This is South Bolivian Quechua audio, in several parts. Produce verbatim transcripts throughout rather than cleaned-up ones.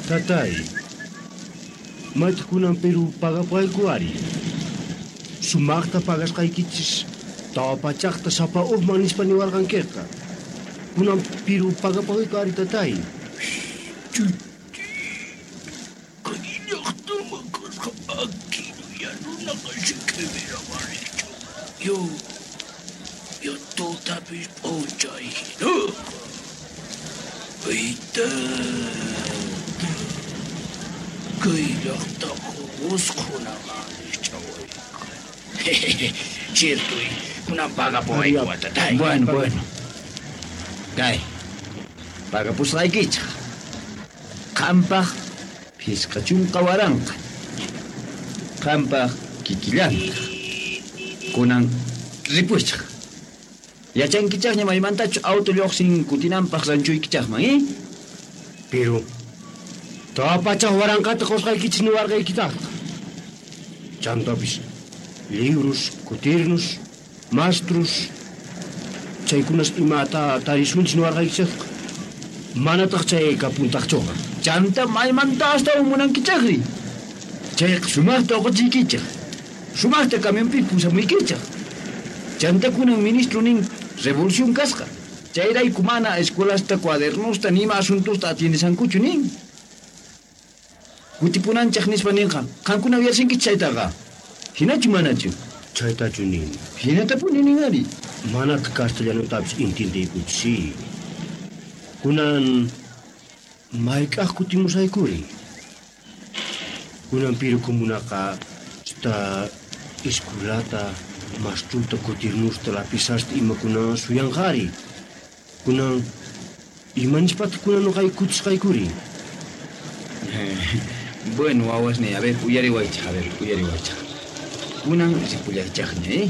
Tatay, maytaq kunan Perú pagapayku ari. Sumaqta pagasqaykichis tawa pachaqta sapa uqman nispa niwarqankiqa. Kunan Perú pagapayku ari tatay. Yo, yo tutapis p'unchay hinaqa. Aytata, kay llaqtaqa usqhunaman rikch'awayku. Ciertoy, kunan pagapuwayku tatay. Bueno, bueno. Kay, pagapusqaykichaq. Qampaq phisqa chunka waranqa. Qampaq kikillantaq. Kunan ripuychaq. Yachankichaqña maymantachu auto lluqsin kutinanpaq ranchuykichaqman, eh? Pero tawa pachaq waranqata qusqaykichis niwarqaykitaqqa. Chantapis librus, kutirnus, mastrus, chaykunas imata tarisunchis niwarqaykichaqqa. Manataq chay kapuntaqchuqa. Chanta maymanta astawan munankichaqri. Chayqa sumaqta uquchiykichaq. Sumaqta camionpi pusamuykichaq. Chanta kunan ministro nin revolución kasqa. Chayrayku mana escuelasta, cuadernosta, nima asuntosta atiendesankuchu nin. Kutipunanchaq nispa ninqa. Qankuna uyasinkichik chaytaqa. Hinachu manachu? Chaytachu nin. Hinatapuni nin ari. Manataq castellanotapis intindiykuchu, sí. Kunan mayk'aq kutimusaykuri. Kunan Piru comunaqa sta escuelata, mastruta, kutirnusta, lapizasta imakuna suyanqari. Kunan imanishpataq kunan nuqayku kutisqaykuri. Bueno, wawasniy, a ver, uyariwaychaq, a ver, uyariwaychaq. Kunan ripullaychaqña, eh?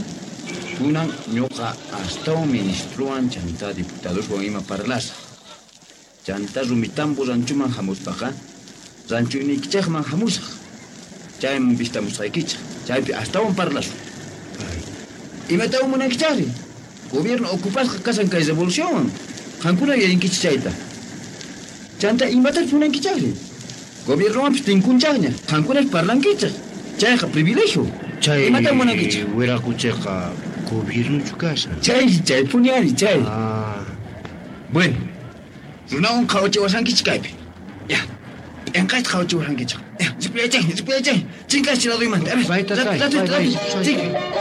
Kunan ñuqa astawan ministrowan chanta diputadoswan ima parlasaq. Chanta Rumitambo ranchuman hamuspaqa, ranchuynikichaqman hamusaq. Chayman vistamusqaykichaq. Chaypi astawan parlasun. Imatawan munankichaqri? Gobierno ocupasqa kashan kay revolucionwan. Qankuna yuyarinkichik chayta. Chanta imatachus munankichaqri? Gobiernowanpis tinkunchaqña. Qankunash parlankichaq. Chayqa privilegio. Chay Imatawan munankichaq? Wiraquchiqa gobiernochu kashan. Chay, chaypuni ari, chay. Ah. Bueno, runawan qhawachiwashankichik kaypi. Ya, p'inqayta qhawachiwashankichik. Ya, ripuyaychaqña, ripuyaychaqña. Chinkaschi laduymanta. A ver, Bay, tatay, rápido, bay, rápido, bay. rápido. Chinka.